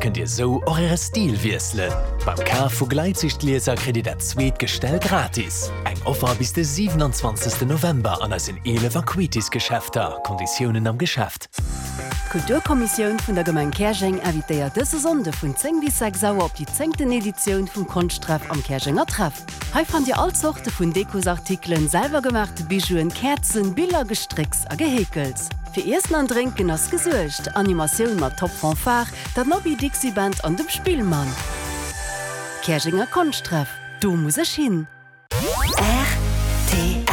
kënnt Dir sou och Äre Stil wiesselen. Beim Kaf vu Gleitsichtglieser kritt Dir dat zweet Gestell gratis. Eng Offer bis de 27 November an eisen 11 Acuitis Geschäfter. Konditiounen am Geschäft. D'Kulturkommissioun vun der Gemeng Käerjeng invitéiert dëse Sonnde vun 10 bis 6 Auer op déi zéngten Editioun vum Konschttreff am Käerjenger Treff. Hei fannt Dir all Zorte vun Dekosartikelen, selwergemaachte Bijouen, Käerzen, Biller, Gestrécks a Geheekels. Fir Iessen an Drénken ass gesuergt, Animatioun mat Top Fanfare, der Nobby Dixie Band an dem Spillmann. Käerjenger Konschtreff, do muss ech hin! Rtl.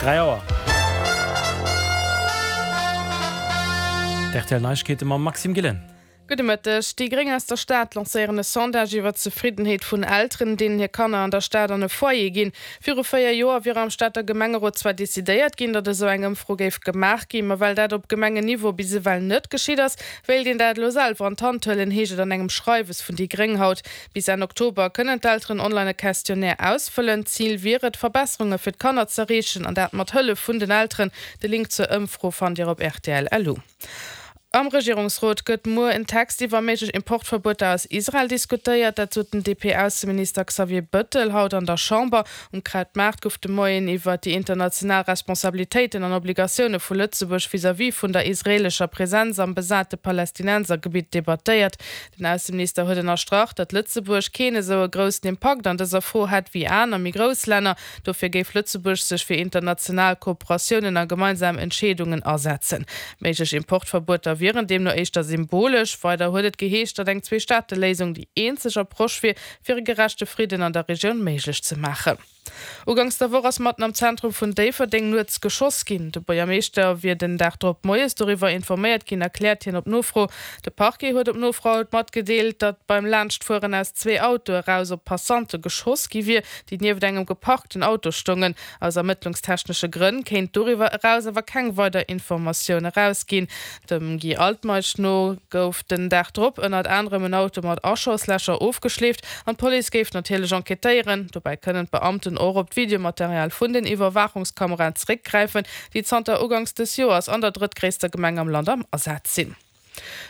3 Auer. D'RTL Neiegkeete mam Maxime Gillen. Gudde Mëtteg. Déi Gréng aus der Stad lancéieren e Sondage iwwer d'Zefriddenheet vun Elteren, deenen hir Kanner an der Stad an e Foyer ginn. Viru 4 Joer wier am Stater Gemengerot zwar decidéiert ginn, datt esou eng Ëmfro géif gemaach ginn, ma well dat op Gemengenniveau bis ewell net geschitt ass, wéilt een dat elo selwer an d'Hand huelen, heescht et an engem Schreiwes vun déi Gréng haut. Bis Enn Oktober kënnen d'Elteren online e Questionnaire ausfëllen. Zil wier et, Verbesserunge fir d'Kanner z'erreechen, an dat mat Hëllef vun den Elteren. De Link zur Ëmfro fannt Dir op rtl.lu. Am Regierungsrot gëtt muer en Text iwwer méiglech Importverbueter aus Israel diskutéiert. Dat sot den DP-Ausseminister Xavier Bëttel haut an der Chamber. Um Krautmaart gouf de Moien iwwer déi international Responsabilitéiten an Obligatioune vu Lëtzebuerg vis-à-vis vun der israeelescher Presenz am besate Palästinensergebitt debattéiert. Den Ausseminister huet ënnerstrach, datt Lëtzebuerg keen esou e groussen Impakt an dëser Fro hätt wéi aner méi grouss Länner. Dofir géif Lëtzebuerg sech fir international Kooperatiounen a gemeinsam Entscheedungen asetzen. Méiglech Importverbueter wieren deemno éischter symbolesch. Weider huet et geheescht, datt eng Zweestaateléisung déi eenzeg Approche wier, fir e gerechte Fridden an der Regioun méiglech ze maachen. Uganks der Woch ass matten am Zentrum vun Déifferdeng nuets geschoss ginn. De Buergermeeschter wier den Dag drop moies doriwwer informéiert ginn, erkläert hien op Nofro. De Parquet huet op Nofro haut matgedeelt, datt beim Laanschtfueren aus zwee Autoe eraus op Passante geschoss gi wier, déi nieft engem geparkten Auto stoungen. Aus ermëttlungstechnesche Grënn kéint doriwwer eraus awer keng weider Informatioun erausginn. Dem Guy Altmeisch no gouf den Dag drop ënnert anerem en Auto mat Aschoslächer ofgeschleeft an d'Police géif natierlech enquêtéieren. Dobäi kënnen d'Beamten och op d'Videomaterial vun den Iwwerwaachungskameraen zeréckgräifen, déi zanter uganks dës Joers an der drëttgréisster Gemeng am Land am Asaz sinn.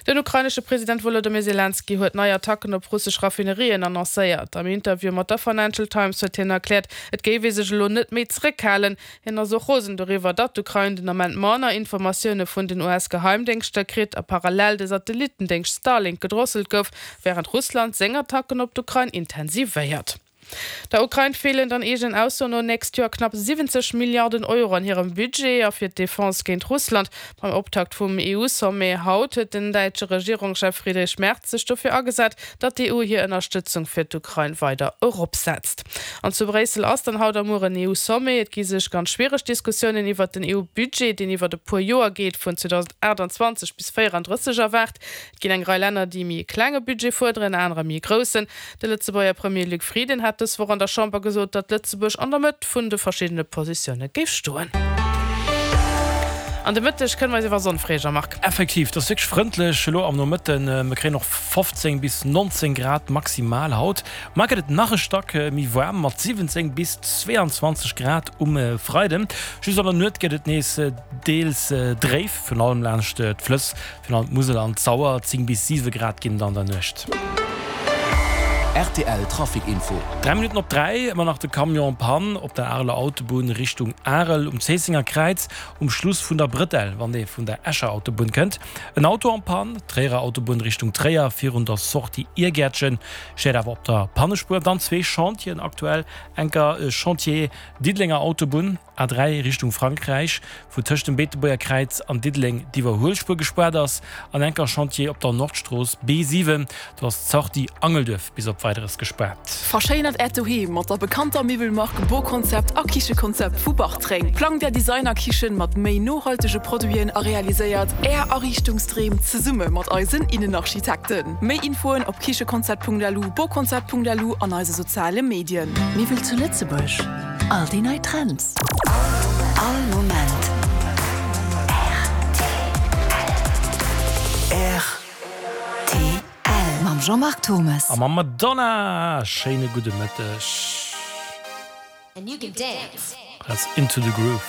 Den ukrainesche President Wolodymyr Selenskyj huet nei Attacken op russesch Raffinerien annoncéiert. Am Interview mat der Financial Times huet hien erkläert, et géif ee sech elo net méi zeréckhalen. Hien ass och rosen doriwwer, datt d'Ukrain den Ament manner Informatioune vun den US-Geheimdéngschter kritt a parallel de Satellitendéngscht Starlink gedrosselt gouf, wärend Russland seng Attacken op d'Ukrain intensivéiert. Der Ukrain feelen dann eegenen Aussoen no nächst Joer knapp 70 Milliarden Euro an hirem Budget a fir d'Defense géint Russland. Beim Optakt vum EU-Sommet haut huet den däitsche Regierungschef Friedrich Merz sech dofir agesat, datt d'EU hir Ënnerstëtzung fir d'Ukrain weider eropsetzt. An zu Bréissel ass dann haut a muer en EU-Sommet. Et gi sech ganz schwiereg Diskussiounen iwwert den EU-Budget, deen iwwert e puer Joer geet, vun 2028 bis 34 erwaart. Et ginn eng Rei Länner, déi méi e klenge Budget fuerderen, anerer méi e groussen. De Lëtzebuerger Premier Luc Frieden hat dës Woch an der Chamber gesot, datt Lëtzebuerg an der Mëtt vun de verschiddene Positioune géif stoen. An de Mëtteg kënne mer eis iwwer Sonn freeë, Jean-Marc. Effektiv, et ass wierklech frëndlech elo am Nomëtten. Mir kréien och 15 bis 19 Grad maximal haut. Mar gëtt et nach e Stack méi waarm mat 17 bis 22 Grad um Freiden. Just an der Nuet gëtt et nees deels dréif, virun allem laanscht d'Flëss. Virun allem d'Musel an d'Sauer, 10 bis 7 Grad ginn et an der Nuecht. Rtl Trafic Info. 3 Minutten op 3, ëmmer nach de Camion en panne op der Areler Autobunn Richtung Arel um Zéissenger Kräiz um Schluss vun der Brëtell, wann ee vun der Escher Autobunn kënnt. En Auto en panne, Tréierer Autobunn Richtung Tréier virun der Sortie Irgäertchen, steet awer op der Pannespuer. Dann zwee Chantieren aktuell, enker Chantier Diddelenger Autobunn, A3 Richtung Frankräich, wou tëscht dem Beetebuerger Kräiz an Diddeleng d'Iwwerhuelspuer gespaart ass, an enker Chantier op der Nordstrooss B7, do ass d'Sortie Angelduerf bis op Weideres gespaart. Verschéinert Äert Doheem mat der bekannter Miwwelmark Boconcept a Kichekonzept vu Bartreng. Plangt Är Designerkichen mat méi nohaltege Produiten a realiséiert Är Ariichtungsdreem zesumme mat eisen Innenarchitekten. Méi Infoen op kichekonzept.lu, boconcept.lu an eise soziale Medien. Miwwel zu Lëtzebuerg. All déi nei Trends. All Moment. Rtl. Mam Jean-Marc Thommes. A mam Madonna! Schéine gudde Mëtteg. That's Into the Groove.